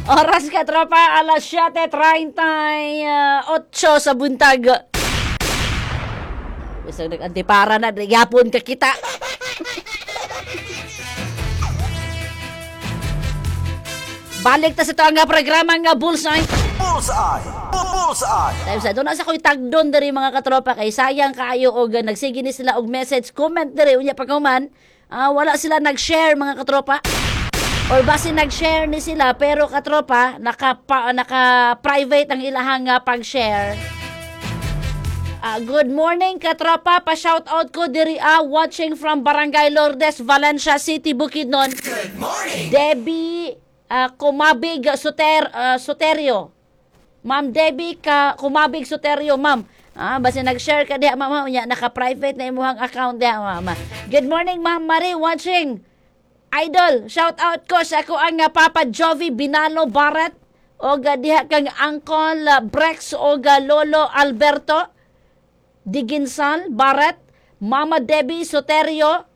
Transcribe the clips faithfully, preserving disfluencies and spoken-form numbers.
Oras, katropa, alas siyete trentay otso sa buntag. Bisag nag-antipara na, di gyapon ka kita. Balik ta sa ito ang programa nga Bullseye. Bullseye! Bullseye! Time sa doon sa ko'y tagdon diri, mga katropa, kay sayang kaayo og nagsige ni sila og message, comment diri, unya paghuman ah, wala sila nag-share, mga katropa, or basi nag-share ni sila pero, katropa, naka pa, naka private ang ilahang ah, pag-share. Ah, good morning, katropa, pa shout out ko diri ah, watching from Barangay Lourdes, Valencia City, Bukidnon. Good morning! Debbie ah, Kumabig Soter ah, Soterio. Ma'am Debbie ka Kumabig Soterio, ma'am. Ah, basta nag-share ka diha, ma'am, unya naka-private na imong account diha, ma'am. Good morning, Ma'am Marie, watching. Idol, shout out ko sa ako ang ah, Papa Jovi Binalo Barret og ah, diha kang Uncle ah, Brex og ah, Lolo Alberto Diginsal Barret, Mama Debbie Soterio.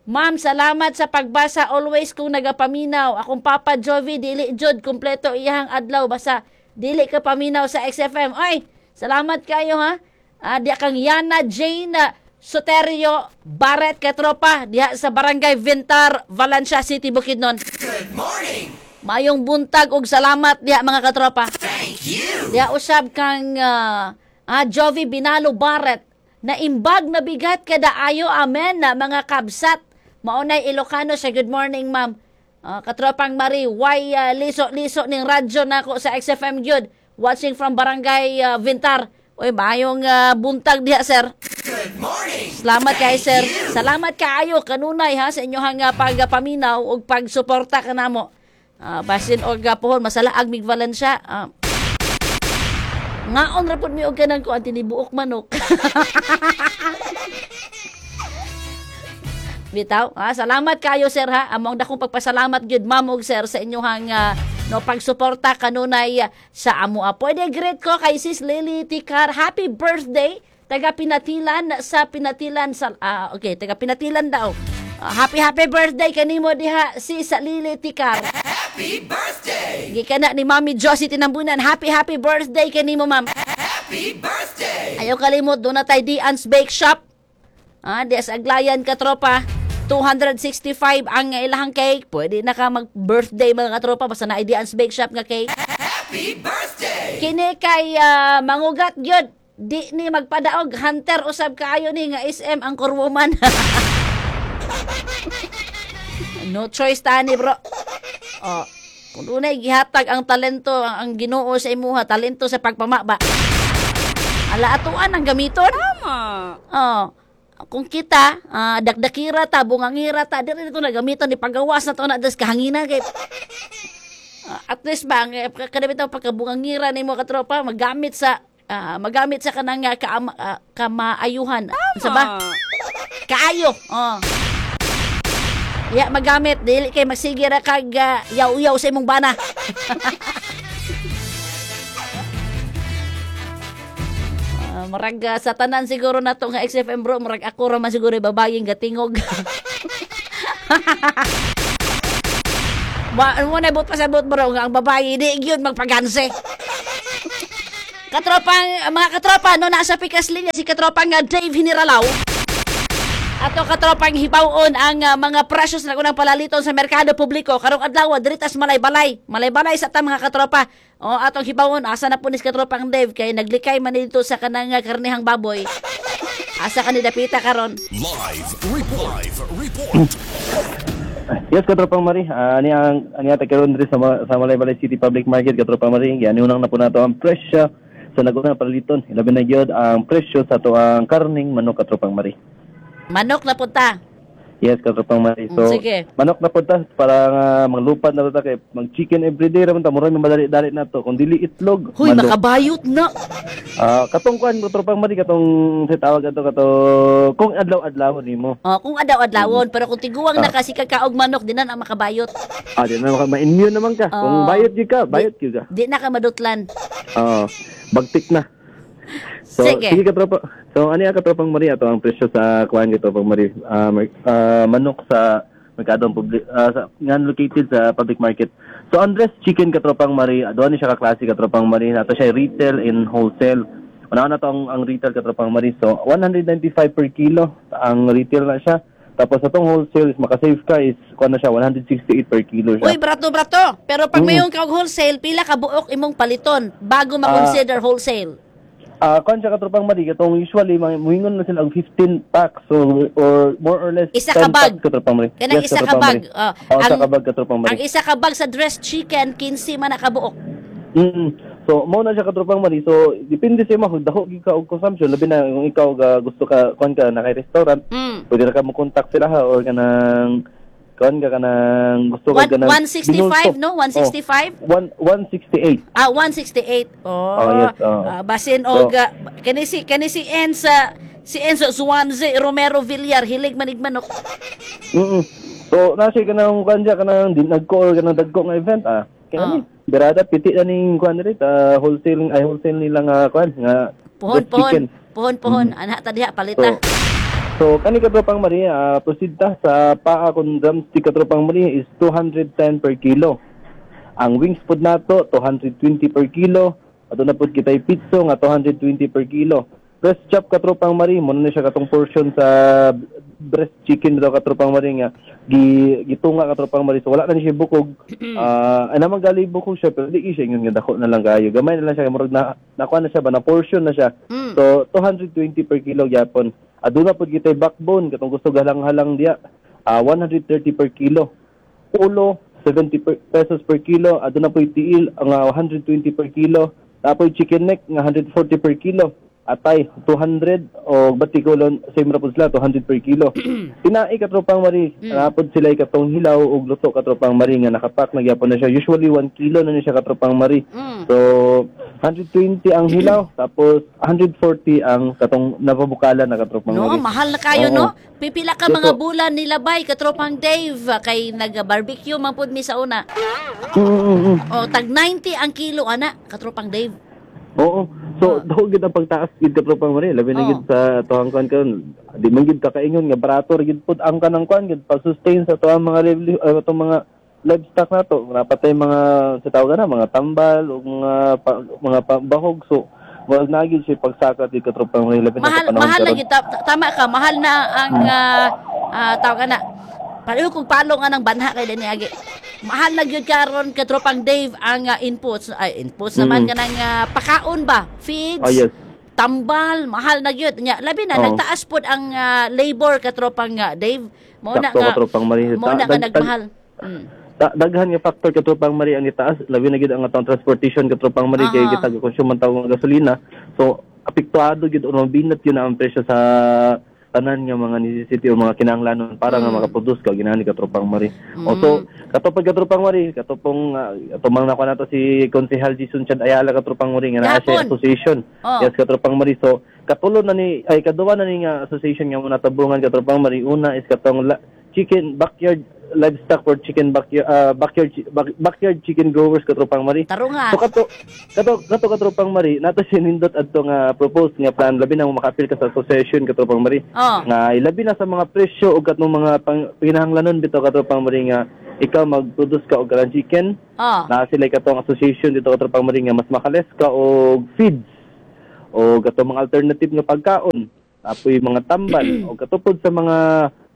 Ma'am, salamat sa pagbasa, always kung nagapaminaw. Akong Papa Jovi, dili jud kumpleto iyang adlaw basta dili ka paminaw sa X F M. Ay, salamat kayo ha. Ah, diha kang Yana Jane Soterio Barret, katropa, diha sa Barangay Vintar, Valencia City, Bukidnon. Good morning! Mayong buntag ug salamat diha, mga katropa. Thank you! Diha usab kang ah, ah, Jovi Binalo Barret na imbag na bigat kada ayo, amen na mga kabsat. Maunay Ilocano sa. Good morning, ma'am. Ah, katropang Marie, why ah, liso-liso ning radyo nako sa X F M gyud. Watching from Barangay ah, Vintar. Uy, mayong ah, buntag diha, sir. Good morning! Salamat kay sir. Salamat kaayo kanunay ha sa inyong uh, pagpaminaw ug pagsuporta kanamo. Ah, basin og uh, pohon masalaag mig Valencia. Ah, ngaon ra pud mi og kanang kuan, tinibuok manok. Bitaw. Ah, salamat kayo, sir, ha. Among dakong pagpasalamat gyud, ma'am ug sir, sa inyong ah, no pagsuporta kanunay ah, sa amo. Ah, pwede greet ko kay Sis Lily Tikar. Happy birthday, taga Pinatilan sa Pinatilan sa ah, okay, taga Pinatilan daw. Ah, happy happy birthday kanimo diha, Sis Lily Tikar. Happy birthday! Gikan na ni Mami Josie Tinambunan. Happy happy birthday kanimo, ma'am. Happy birthday! Ayaw kalimot, doon na tayo Dian's Bake Shop. Ah, di sa Aglayan, katropa. two hundred sixty-five ang ilahang cake. Pwede na ka mag-birthday, mga katropa, basta na Dian's Bake Shop nga cake. Happy birthday! Kini kay ah, mangugat gyud. Di ni magpadaog, hunter usab kaayo ni nga S M anchor woman. No choice tani, bro. Oh, kung dunay gihatag ang talento ang, ang Ginoo sa imuha, talento sa pagpamaba. Ala atuan ang gamiton. Tama. Oh, kung kita ah, dakdakira ta, bungangira ta, diri to na gamiton ni pagawas na to na des kahangina kay Ah, at least ba ang eh, kada bitaw pagkabungangira nimo, katropa, magamit sa ah, magamit sa kanang uh, kaama, ah, kamaayuhan. Unsa ba? Kaayo. Oh. Ya magamit dili kay magsige ra kag ah, yaw-yaw sa imong bana. Ah, murag ah, sa tanan siguro nato nga X F M, bro, murag ako ra man siguro yung babayeng gatingog. Wa mo na but pasabot, bro, nga ang babae di gyud magpaganse. Katropang mga katropa, no, nasa pikas linya si katropang nga Dave Hiniralaw. Ato, katropang, hibawon ang ah, mga presyo sa nagunang palaliton sa merkado publiko karong adlaw diri tas Malaybalay. Malaybalay sa ta, mga katropa. O atong hibawon asa na po ni si katropang Dave kay naglikay man dito sa kanang ah, karnihang baboy. Asa ka ni dapita karon? Live report. Live report. Yes, Katropang Marie. Uh, ani ang ani ata karon diri sa Ma- sa Malaybalay City Public Market, Katropang Marie. Giani unang na po nato ang presyo sa naguna palaliton. Ilabi na gyud ang presyo sa ato ang karning manok, Katropang Marie. Manok na punta. Yes, Katropang Marie. So, Mm, sige. Manok na po ta para nga maglupad na ta kay mag chicken everyday ra man ta, murag madali-dali na to. Kung dili itlog, Huy, manok. makabayot na. Ah, katong kuan, Katropang Marie, katong sa tawag ato kato kung adlaw-adlaw nimo. Oh, kung adaw-adlawon, pero kung tiguang na kasi kakaog manok, di na na makabayot. Ah, di na maka ma-immune naman ka. Kung Oo. bayot gyud ka, bayot gyud ka. Di na ka madutlan. Oo. Bagtik na. So, Sige. sige, katropa. So, ano yung katropang Maria? Ito ang presyo sa kuan, katropang Maria. Ah, mer- ah, manok sa merkado public, ah, sa, nga located sa public market. So ang dressed chicken, katropang Marie, doon ni siya ka klase, katropang Marie. Nato siya retail and wholesale. Una na to ang, ang retail, katropang Marie. So one hundred ninety-five per kilo ang retail na siya. Tapos atong wholesale is makasave ka is kuan na siya, one hundred sixty-eight per kilo siya. Uy, barato barato. Pero pag Mm. mayon ka og wholesale, pila ka buok imong paliton bago ma-consider wholesale? Ah, kuan siya, katropang Marie, katong usually mga muingon na sila og fifteen packs so or more or less Isa ten ka bag. packs, katropang Marie. Kanang Yes, isa ka katropang bag. Marie. Oh, Oh, isa ka bag, katropang Marie. Ang isa ka bag sa dressed chicken, fifteen man na kabuok. Mm. So mo na siya, katropang Marie. So depende sa imo kung dako gyud ka og consumption, labi na kung ikaw ga, gusto ka kuan ka na kay restaurant, Mm. pwede ra ka mo contact sila ha or kanang kuan ka kanang gusto ka One, kanang one sixty-five, no? one sixty-five? Oh, one 168. Ah, one sixty-eight. Oh. Oh, yes, oh. Ah, basin og ah, kani si kani si Enza si Enzo Swanze Romero Villar hilig manig manok. Mm. So na siya kanang kuan siya kanang di nagko or kanang dagko nga event ah. Kaya Oh. ni Berada piti na ning kuan diri ah, wholesale ay wholesale nila nga kuan nga Pohon, dressed pohon. chicken. Pohon, pohon. Ana ta diha palita. So, so kani, katropang Maria, ah, proceed ta sa paa kung drumstick, katropang Maria, is two hundred ten per kilo. Ang wings pod nato two hundred twenty per kilo. Ato na pod kitay pizza nga two hundred twenty per kilo. Breast chop, katropang Marie, mo na siya katong portion sa breast chicken daw, katropang Marie, nga gi gitunga, katropang Marie. So wala na ni siya bukog. Ah, ay naman gali bukog siya pero di siya ingon nga dako na lang kayo. Gamay na lang siya, murag na nakuha na siya ba na portion na siya. Mm. So two hundred twenty per kilo gyapon. Aduna pod kitay backbone katong gusto galang-halang diya. Ah, one hundred thirty per kilo. Ulo seventy per, pesos per kilo. Aduna po'y tiil ang ah, one hundred twenty per kilo. Tapoy chicken neck nga one hundred forty per kilo. Atay two hundred o batikolon same ra pud sila, two hundred per kilo. Tinai, katropang Marie, mm. napod sila katong hilaw ug luto, katropang Marie, nga nakapak na gyapon na siya. Usually one kilo na ni siya, katropang Marie. Mm. So one hundred twenty ang hilaw tapos one hundred forty ang katong napabukalan na, katropang No, Marie. mahal na kayo, Oo. no? Pipila ka Yes, mga po. bulan nilabay, katropang Dave, kay nag-barbecue man pud mi sa una. Mm, mm, mm. O, tag ninety ang kilo, ana, katropang Dave. Oo. So, daw gid ang pagtaas gid, katropang Marie. Labi na Oo. gid sa tuang kuan karon. Di man gid kakaingon nga barato ra gid pud ang kanang kuan gid pag-sustain sa tuang mga lively uh, atong mga livestock nato. Napatay mga sa tawag na mga tambal o mga pa, mga pa, bahog. So, wag na gid siya pagsakat gid, katropang Marie, labi na sa Mahal panahon mahal na karon. gyud ta- tama ka, mahal na ang ah, ah, tawag ana. Pareho kung palong anang banha kay dani agi. Mahal na gyud karon, katropang Dave, ang ah, inputs ay inputs naman Mm. kanang ah, pakaon ba, feeds. Oh, yes. Tambal, mahal na gyud. Nya, labi na Oo. nagtaas pod ang ah, labor, katropang ah, Dave. Mao na Sakto, nga katropang Marie. Mao na Ta- nga dag- nagmahal. Mm. Ta- daghan nga factor, katropang Marie, ang itaas, labi na gid ang atong transportation, katropang Marie, kay Aha. kita consume man tawag ng gasolina, so apektado gid o mabinat yun ang presyo sa tanan nga mga necessity o mga kinahanglanon para nga Mm. makaproduce ka ginani, katropang Marie. O so katopag, katropang Marie, katopong uh, ato mang nakuha nato si Konsehal Jason Chad Ayala, katropang Marie, nga naa siya Gahapon. association. Oh. Yes, katropang Marie. So katulo na ni ay kaduwa na ni nga association nga mo natabungan, katropang Marie. Una is katong la- chicken backyard livestock or chicken backyard uh, backyard chi- back- backyard chicken growers, katropang Marie. Tarunga. So kato kato kato katropang Marie, nato sinindot adto nga propose nga plan, labi na mo makaapil ka sa association, katropang Marie. Oh. Nga ilabi na sa mga presyo ug katong mga pang, pinahanglanon bitaw, katropang Marie, nga ikaw mag-produce ka og kanang chicken Oh. na sila katong association dito, katropang Marie, nga mas makales ka og feeds o katong mga alternative nga pagkaon, apoy mga tambal o katupod sa mga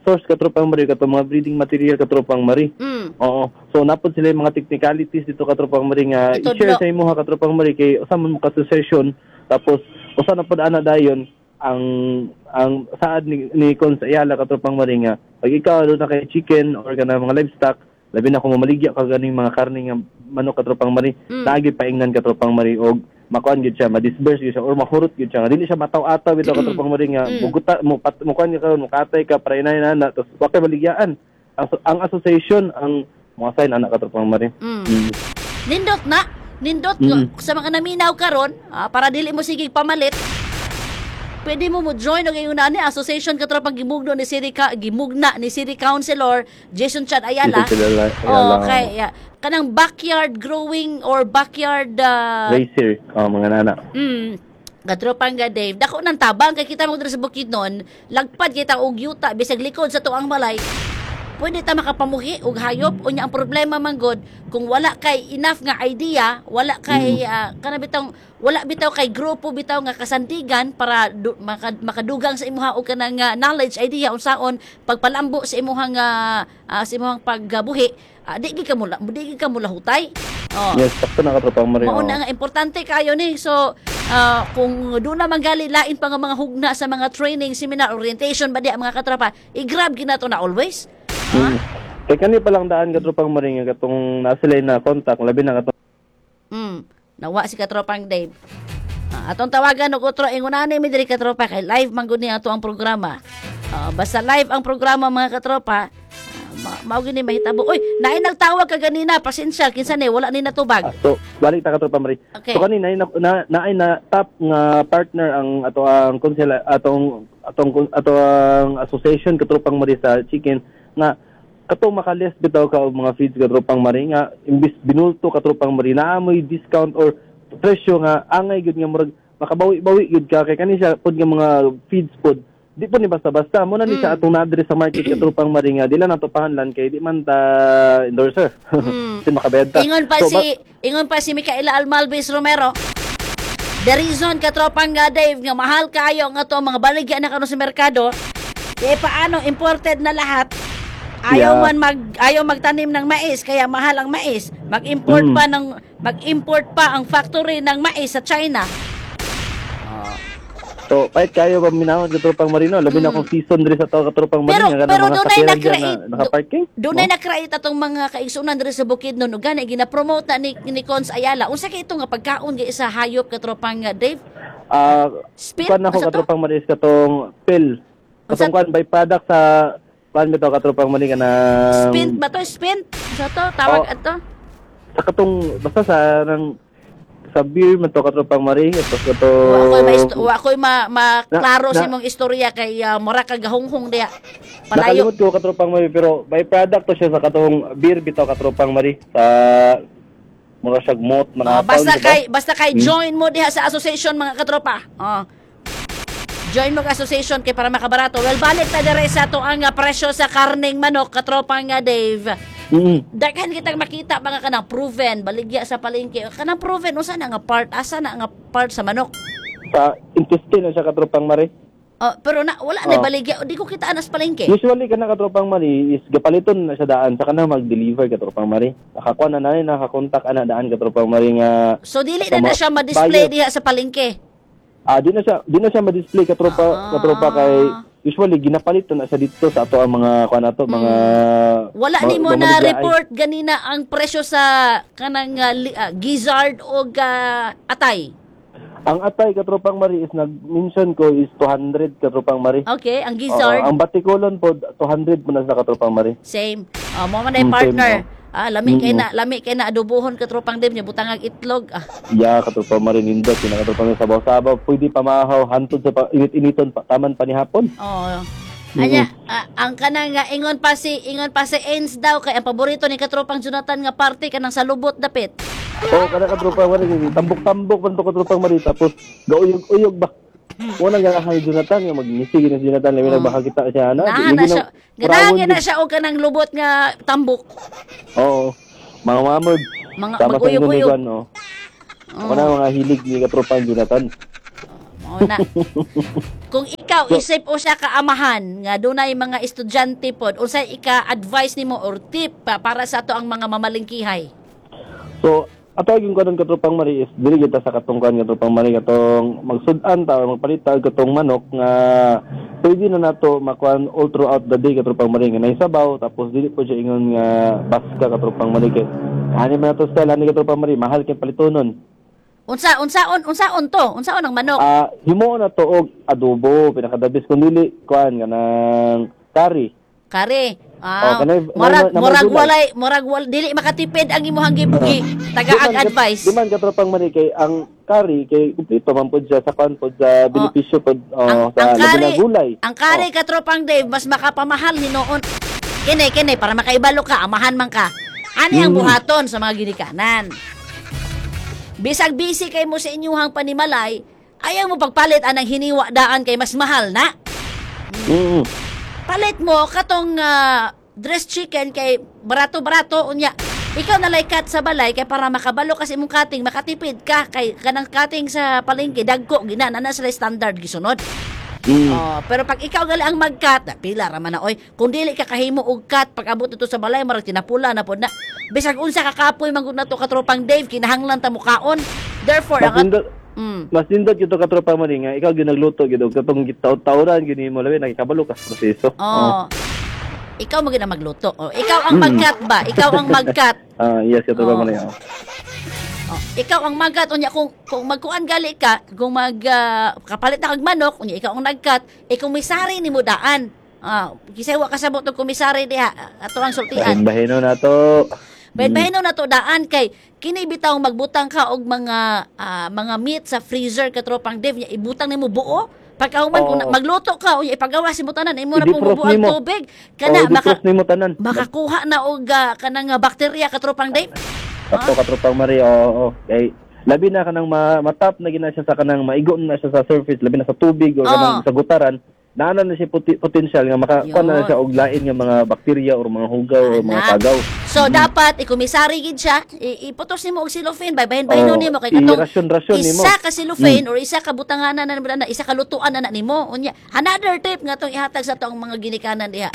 source, katropang Marie, katong mga breeding material, katropang Marie. Mm. Oo. So napod sila yung mga technicalities dito, katropang Marie, nga Itudlo. i-share sa imuha, katropang Marie, kay usa man mo ka association tapos usa na pod ana dayon ang ang saad ni, ni Cons Ayala, katropang Marie, nga pag ikaw doon na kay chicken or kana mga livestock, labi na kung mamaligya ka ganing mga karne nga manok, katropang Marie, mm. lagi paingnan, katropang Marie, og makuan gyud siya, ma-disburse gyud siya or mahurot gyud siya nga dili siya mataw-ataw bitaw, katropang Marie, nga muguta mo pat mo kuan ka karon, mukatay ka para inay na tapos wa kay maligyaan ang, ang association ang mga sign ana, katropang Marie. Mm. Mm. Nindot na. Nindot Mm. sa mga naminaw karon, ah, para dili mo sige pamalit. Pwede mo mo join og ingon ani association, katropang, gimugno ni City Ka, gimugna ni City Councilor Jason Chad Ayala. Jason Chad Ayala. Oh, okay. Yeah. Kanang backyard growing or backyard ah, Racer, oh, mga nana. Mm. Katropang ga Dave, dako nang tabang kay kita mo diri sa Bukidnon, lagpad kita og yuta bisag likod sa tuang balay. Pwede ta makapamuhi og hayop. Unya ang problema man gud kung wala kay enough nga idea, wala kay ah, kana bitong wala bitaw kay grupo bitaw nga kasandigan para du, maka, makadugang sa imuha og kanang ah, knowledge, idea unsaon pagpalambo sa imuhang ah, ah, sa imuhang pagbuhi, ah, di gid ka mula di gid ka mulahutay. Oh. Yes, sakto na, katropang Marie. Mao Oo. na nga importante kayo ni. So ah, kung doon na manggali lain pa nga mga hugna sa mga training, seminar, orientation ba di ang mga katropa, i-grab ginato na always. Mm. Kay kani pa lang daan, katropang Marie, nga katong naa sila na contact, labi na katong Mm. Nawa si katropang Dave. Ah, atong tawagan og otro ingon ani mi diri, katropa, kay live man gud ni ato ang programa. Ah, basta live ang programa, mga katropa, ah, ma- mao gini mahitabo. Oy, naay nagtawag ka ganina, pasensya kinsa ni, wala ni natubag. Ah, so balik ta, katropang Marie. Okay. So kani na na, naay na top nga partner ang ato ang konsela atong atong ato ang association, katropang Marie, sa chicken nga katong makaless bitaw ka og mga feeds, katropang Marie, nga imbis binulto, katropang Marie, naa moy discount or presyo nga angay gyud nga murag makabawi-bawi gyud ka kay kani siya pod nga mga feeds pod di po ni basta-basta mo na ni siya atong naadre sa market, katropang Marie, nga di lang nato pahanlan kay di man ta endorser mm. makabenta. Ingon pa So, si ingon pa si Micaela Almalbis Romero. The reason, katropang nga Dave, nga mahal kayo nga to mga baligya na karon sa merkado, eh paano imported na lahat. Ayaw Yeah. man mag ayaw magtanim ng mais kaya mahal ang mais. Mag-import Mm. pa ng mag-import pa ang factory ng mais sa China. So, kahit kayo ba minahon, katropang Marino, labi na kung season diri sa to, katropang Mm. Pero Marino, nga pero mga dunay sakyanan dyan na-create na naka-parking. Dunay No? na-create atong mga kaigsunan diri sa Bukidnon ug gani gina-promote na ni, ni Cons Ayala. Unsa kay ito nga pagkaon gi sa hayop, katropang uh, Dave? Ah, Spit? kuan ako Unsa to? katropang Marie is katong pill. Unsa- Katong kuan by product sa kuan bitaw, katropang Marie, kanang Spint ba to? Spint? Sa to? Tawag Oh. ato? Sa katong basta sa nang sa beer man to, katropang Marie, tapos katong Wa ko'y ma wa ko'y ma, maklaro Na- sa na- imong istorya kay uh, mura ka gahunghong diha. Palayo. Nakalimot ko, katropang Marie, pero by product to siya sa katong beer bitaw, katropang Marie, sa mura siya mot Oh, mga basta taon, diba? kay basta kay join mo diha sa association, mga katropa. Oh. Join mo ka association kay para makabarato. Well, balik ta dire sa ato ang uh, presyo sa karneng manok, katropa nga Dave. Mm. Daghan kitang makita mga kanang proven baligya sa palengke. Kanang proven, usa na nga part, asa na nga part sa manok? Sa intestine na siya, katropang Marie. Oh, pero na wala na Oh. baligya, di ko kita anas palengke. Usually kana, katropang Marie, is gapaliton na siya daan sa kana mag-deliver, katropang Marie. Nakakuha na na nakakontak ana daan, katropang Marie, nga So dili na na siya ma-display buyer. diha sa palengke. Ah, di na siya di na siya ma-display, katropa Ah. katropa, kay usually ginapalit na siya dito sa ato ang mga kuan ato mga Wala mga- nimo mga na maligyaay. report ganina ang presyo sa kanang uh, li- ah, gizzard o ah, atay. Ang atay, katropang Marie, is nag-mention ko is two hundred, katropang Marie. Okay, ang Oo, gizzard ang batikolon po two hundred po na sa, katropang Marie. Same. Oh, mo man ay Mm, same, partner. oh. Ah, lami kay Mm-mm. na, lami kay na adobohon, katropang Dave niya butangag itlog. Ah, Yeah, katropang Marie, nindot kina, katropang Marie, sabaw-sabaw pwede pamahaw hantod sa pa, init-initon pa, taman pa ni hapon. Oh. Anya, ah, ang kanang nga ingon pa si ingon pa si Ains daw kay ang paborito ni katropang Jonathan nga parte kanang salubot dapit. Oo, kada katropang Marie, tambok-tambok man to, katropang Marie, tapos gauyog-uyog ba. Unang ganahan ni Jonathan, yung magngisi gina si Jonathan, labi na baka kita siya, ano? Naa na siya. Ganahan na siya og kanang lubot nga tambok. Oo. Mga mamod. Mga Tama sa mag-uyog-uyog. ingon ni Juan, oh. Ako na mga hilig ni katropang Jonathan. Mao na. Kung ikaw isip o siya kaamahan nga dunay mga estudyante pod, unsay ika-advise nimo or tip pa para sa ato ang mga mamalingkihay? So, ato yung kanon, katropang Marie, is dili kita sa katong kuan, katropang Marie, katong magsud-an ta or magpalit ta og katong manok nga pwede na nato makuan all throughout the day, katropang Marie, nga naisabaw, tapos dili po siya ingon nga baska, katropang Marie, kay ani man nato style ani, katropang Marie, mahal kay palitonon. Unsa unsaon unsaon to? Unsaon ang manok? Ah, himuon na to og adobo, pinakadabis kung dili kuan kanang curry. Kare. Ah, Oh, kanay- murag na- na- murag gulay. walay murag wal, dili makatipid ang imuhang gibugi. Tagaag advice. Di man, katropang Marie, kay ang curry kay kumpleto man pod siya sa kuan pod sa benepisyo pod, oh, Ang, sa ang labi kari, na gulay. ang kari, Oh. katropang Dave, mas makapamahal hinuon. Kini kini para makaibalo ka, amahan man ka. Ani ang Mm. buhaton sa mga ginikanan. Bisag busy kay mo sa inyuhang panimalay, ayaw mo pagpalit anang hiniwa daan kay mas mahal na. Mm. Palit mo katong ah, Dressed chicken kay barato-barato, unya ikaw na lay cut sa balay kay para makabalo kasi imong cutting, makatipid ka kay kanang cutting sa palengke dagko gina na na sila standard gisunod. Mm. Oh, pero pag ikaw gali ang mag-cut, ah, pila ra man na oy. Kung dili ka kahimo og cut pag abot dito sa balay, marag tinapula na pod na. Bisag unsa ka kapoy man gud nato, katropang Dave, kinahanglan ta mukaon. Therefore, Mas ang nindot, mm, mas nindot gyud to, katropa mo ni, nga ikaw gyud nagluto gyud og katong gitaw-tawran gyud nimo, labi nakikabalo ka sa proseso. Oh. Ikaw mo gid ang magluto. Oh, ikaw ang mag-cut ba? Ikaw ang mag-cut. Ah, yes, katropa Oh. mo ni. Oh. Oh, ikaw ang mag-cut, unya kung kung magkuan gali ka, kung mag ah, kapalit na kag manok, unya ikaw ang nag-cut, eh komisari nimo daan. Ah, kisay wa kasabot og komisari diha ato ang sultian. Bahin-bahino na to. Bahin na to daan kay kini bitaw magbutang ka og mga ah, mga meat sa freezer, katropang Dave, nya ibutang nimo buo. Pagkahuman kung Oo. na- magluto ka unya ipagawas mo tanan, imo na pong I-defrost bubuang nimo. tubig kana Oh, maka i-defrost nimo tanan. Makakuha na og ah, kanang ah, bakterya, katropang Dave. Kato, katropang Marie, oo, oo. Kay labi na kanang ma matap na gina siya sa kanang maigo na siya sa surface, labi na sa tubig o Oo. kanang sa gutaran, naana na siya puti- potential nga maka Yun. kuan na siya og lain nga mga bakterya or mga hugaw or mga Anak. tagaw. So dapat ikomisari gid siya, i- iputos nimo og cellophane, bay bahin-bahinon Oo, nimo kay katong i-rasyon-rasyon nimo. isa ka cellophane or isa ka butanganan na, na isa ka lutuan na, na nimo. Unya, another tip nga tong ihatag sa atong mga ginikanan diha.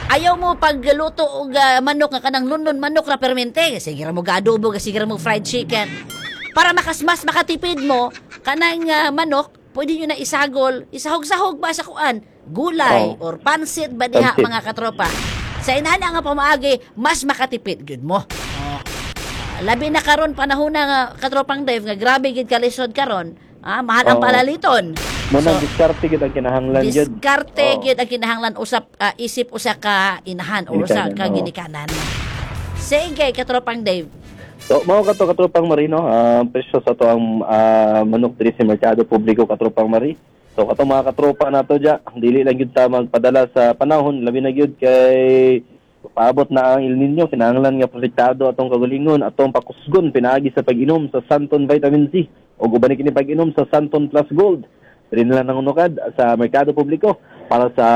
Ayaw mo pagluto og ah, manok nga kanang lundon manok ra permente, sige ra mo adobo, sige ra mo fried chicken. Para makas mas makatipid mo kanang ah, manok, pwede nyo na isagol, isahog-sahog ba sa kuan, gulay Oo. or pansit ba diha, Pansit. mga katropa. Sa inana nga pamaagi, mas makatipid gud mo. Oh. Labi na karon panahon na nga, katropang Dave, nga grabe gid kalisod karon. Ah, mahal ang Oo. palaliton. Mo So, nang diskarte gid ang kinahanglan gyud. diskarte Oo. gyud ang kinahanglan usap ah, isip usa ka inahan o usa Ginikanan, ka oo. ginikanan. Sige, katropang Dave. So, mao kato, katropang Marino, ah, ang presyo sa to ang ah, manok diri sa merkado publiko, katropang Mari. So katong mga katropa nato dya, dili lang gyud ta magpadala sa panahon, labi na gyud kay paabot na ang El Nino, kinahanglan nga protektado atong kagalingon, atong pakusgon pinaagi sa pag-inom sa Santon Vitamin C o uban ni kini pag-inom sa Santon Plus Gold. Diri na lang nangunukad sa merkado publiko para sa,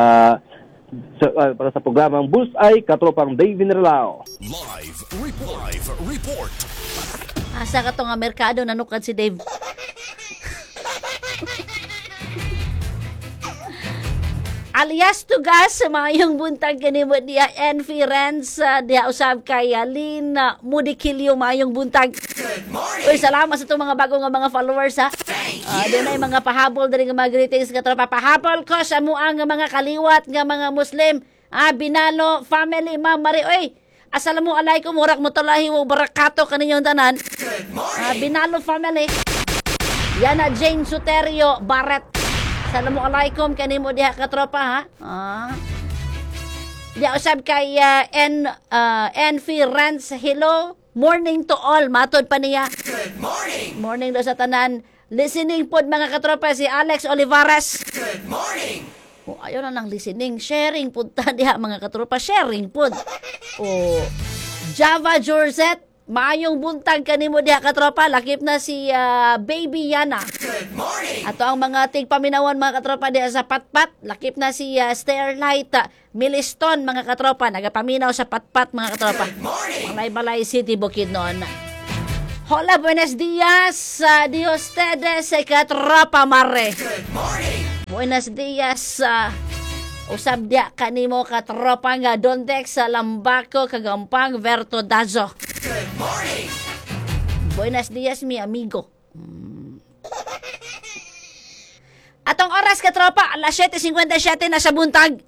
sa ah, para sa programang Bullseye, katropang David Relao. Live report. Live report. Asa ka to nga merkado nanukad si Dave? Alias Tugas, maayong buntag kanimo diha. Envy Renz, ah, diha usab kay ah, Lynn ah, Mudikilio, maayong buntag. Good morning. Uy, salamat sa itong mga bago nga mga followers ha. Uh, doon ay mga pahabol diri nga mga greetings, katropa. Pahabol ko sa muang nga mga kaliwat nga mga Muslim. Ah, Binalo family, Ma'am Mari. Uy, assalamu alaikum warahmatullahi wabarakatuh kaninyong tanan. Good morning. Ah, Binalo family. Yana Jane Suterio Barret. Assalamu alaikum kanimo diha, katropa ha. Ah. Diya usab kay ah, N uh, Envy Rans, hello. Morning to all. Matod pa niya. Good morning. Morning daw sa tanan. Listening pod, mga katropa, si Alex Olivares. Good morning. Oh, ayaw na lang listening, sharing pud ta diha, mga katropa, sharing pud. Oh, Java Georgette, maayong buntag kanimo diha, katropa. Lakip na si ah, Baby Yana. Good morning. Ato ang mga tigpaminawan, mga katropa, diha sa Patpat. Lakip na si uh, Starlight ah, Miliston, mga katropa. Nagapaminaw sa Patpat, mga katropa. Good morning. Malaybalay City, Bukidnon. Hola, buenos dias, uh, de ustedes, eh, katropa mare. Good morning. Buenos dias, uh, usab diya kanimo, katropa nga Dondex sa Lambaco, Kagampang, Verto Dazo. Good morning. Buenos dias, mi amigo. Mm. Atong oras, katropa, alas siyete singkwenta siyete na sa buntag.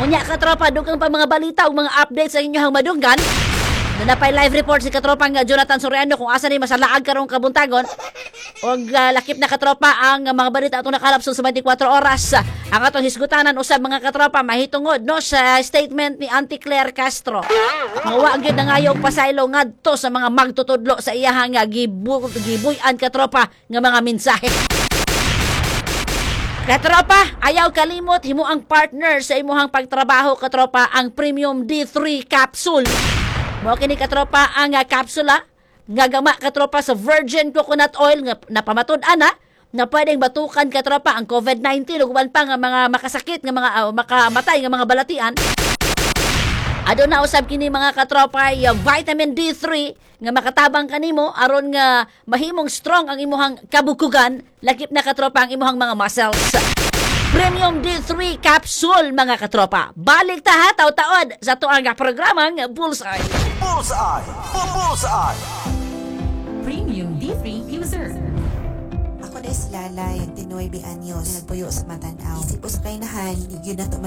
Unya, katropa, dugang pa mga balita ug mga updates sa inyong madunggan. Doon na pa'y live report si katropang uh, Jonathan Soriano kung asa ni masalaag karong kabuntagon. Og uh, lakip na, katropa, ang mga balita atong nakalap sa twenty-four oras. Ang atong hisgutanan usab, mga katropa, mahitungod no sa statement ni Auntie Claire Castro. Nga wa gyud nangayo og pasaylo ngadto sa mga magtutudlo sa iyahang nga gibu, gibuy-an, katropa, nga mga mensahe. Katropa, ayaw kalimot himo ang partner sa imuhang pagtrabaho, katropa, ang Premium D three capsule. Mao kini, katropa, ang uh, kapsula nga gama, katropa, sa virgin coconut oil nga napamatud-an na nga pwedeng batukan, katropa, ang COVID nineteen ug uban pa nga mga makasakit nga mga uh, makamatay nga mga balatian. Aduna usab kini, mga katropa, uh, vitamin D three nga makatabang kanimo aron nga mahimong strong ang imuhang kabukugan, lakip na, katropa, ang imuhang mga muscles. Premium D three capsule, mga katropa. Balik ta ha, taw-taod sa atuang programang Bullseye. Bullseye. Bullseye. Premium D three user. Ako na si Lalay, twenty-nine anyos, nagpuyo sa Matanaw. Isip ko sa kainahan, di gyud na to.